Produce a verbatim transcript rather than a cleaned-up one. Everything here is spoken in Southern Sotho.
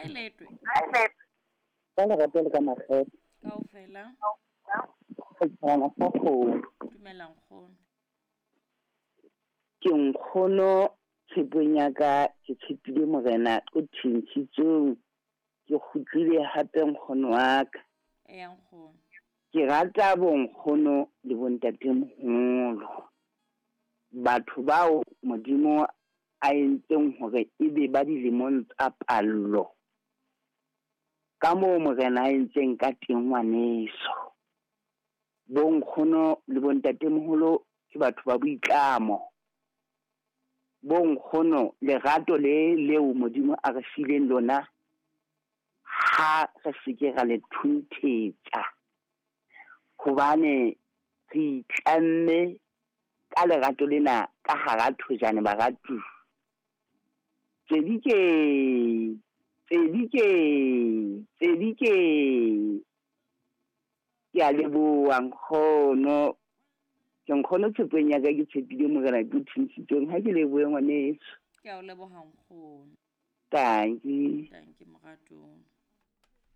Kae letwe? Ka lerato le ka makgethe. Kaofela. Setjhaba sa kgomo. Dumela nkgono. Ke nkgono tshepong ya ka ke tshepile morena o thintshitsweng. Ke kgutlile hape nkgono wa ka. Eya nkgono. Ke rata bonkgono le bontatemoholo. Batho bao Modimo a entseng hore ebe ba dilemong tsa pallo. Ka moo morena a entseng ka teng ngwaneso. Bonkgono le bontatemoholo ke batho ba boitlamo. Bonkgono lerato le leo Modimo a re fileng lona ha re se ke ra le thunthetsa. Hobane re itlamme ka lerato lena ka hara thojane baratuwa. Tsedi ke, tsedi ke, tsedi ke. Ke a leboha nkgono. Ke nkgono tshepong ya ka ke tshepile morena ke o thuntshitsweng. Ha ke lebohe ngwaneso. Ke a o leboha nkgono. Tanki. Tanki moratong.